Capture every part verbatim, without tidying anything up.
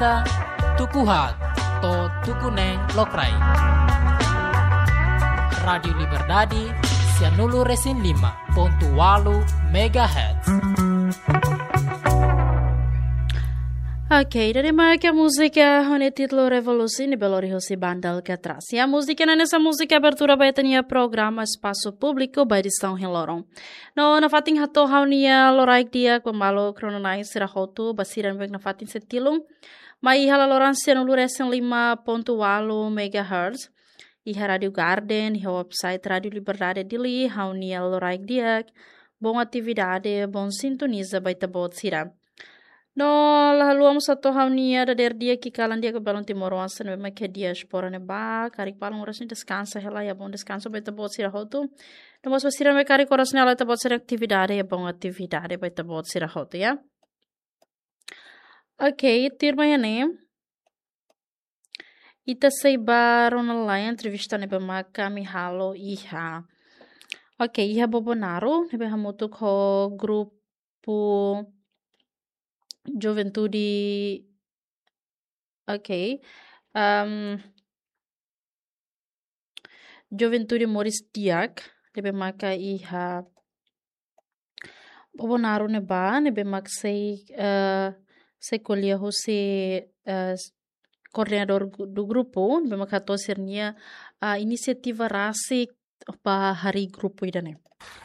Tuku haat to'o tuku neen lokraik. Rádiu Liberdade, sianulu resin lima pontu ualu megahertz. Ok, ida-ne'e mak múzika ho nia títulu Revolusi ne'ebé lori husi banda Alcatraz. Ya, múzika ne'e hanesan múzika abertura ba ita-nia programa Espasu Públiku ba edisaun ohin loron. No, nafatin hato'o ha'u-nia loraik di'ak ba maluk rona-na'in sira hotu, ba sira ne'ebé nafatin sei tilun. Mai iha laloran sianulu resin lima pontu ualu megahertz. Iha Rádiu Garden, iha website Rádiu Liberdade Dili, ha'u-nia loraik di'ak, boot atividade, boot sintoniza ba ita-boot sira. No, la haluha mós hato'o ha'u-nia dadeer di'ak, kalan di'ak ba balun timoroan sira ne'ebé mak iha diáspora ne'ebá, karik balun oras ne'e deskansa hela, ya, boot deskansa ba ita-boot sira hotu. No mós ba sira ne'ebé karik oras ne'e halo ita-boot sira atividade, ya, boot atividade ba ita-boot sira hotu, ya. Ok, tuirmai ne'e, ita sei ba rona lai entrevista ne'ebé mak ami halo iha. Ok, iha Bobonaro, ne'ebé hamutuk ho grupu juventude. Ok. Em, juventude moris di'ak, ne'ebé maka iha Bobonaro ne'ebá, ne'ebé mak sei, eh, sei ko'alia husi, eh, koordenadór gu-, do grupu, ne'ebé mak hato'o sira-nia, ah, inisiativa rasik ba harii grupu ida-ne'e.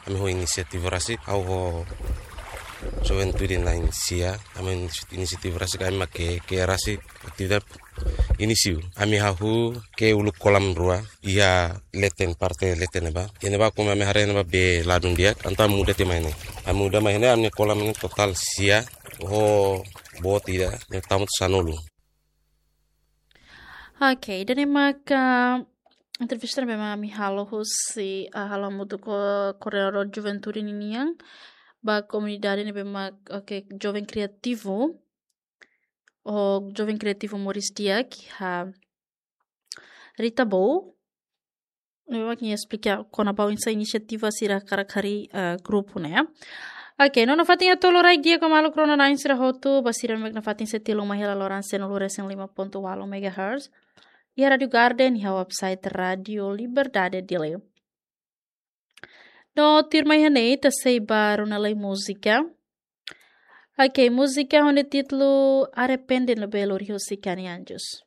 Ami ho inisiativa rasik, ha'u ho juventude na'in-sia, ami inisi-, inisiativa rasik, ami mak ke'e, ke'e rasik, atividade inísiu. Ami hahú ke'e uluk kolam rua, iha leten, parte leten ne'ebá. Iha ne'ebá komu ami haree ne'ebá bee ladún di'ak, entaun muda tiha mai ne'e. Ami muda mai ne'e, ami kolam ne'e totál sia, ho boot ida, ne'e tama to'o sanulu. Ok, ida-ne'e maka entrevista ne'ebé mak ami halo husi, ah, halo hamutuk ho koordenadór juventude ninian, ba komunidade ne'ebé mak, ok, joven kriativu, ho joven kriativu moris di'ak iha Rita Bouk, ne'ebé mak nia esplika kona-ba oinsá inisiativa sira hakarak harii, eh, grupu ne'e. Ok, no nafatin hato'o loraik di'ak ba maluk rona-na'in sira hotu, ba sira ne'ebé nafatin sei tilun mai iha laloran sianulu resin lima pontu ualu megahertz. Iha Rádiu Garden, iha website Rádiu Liberdade Dili. No tuirmai iha ne'e ita sei ba rona lai múzika. Ok, múzika ho nia títulu Arrepende ne'ebé lori husi Kani Anjos.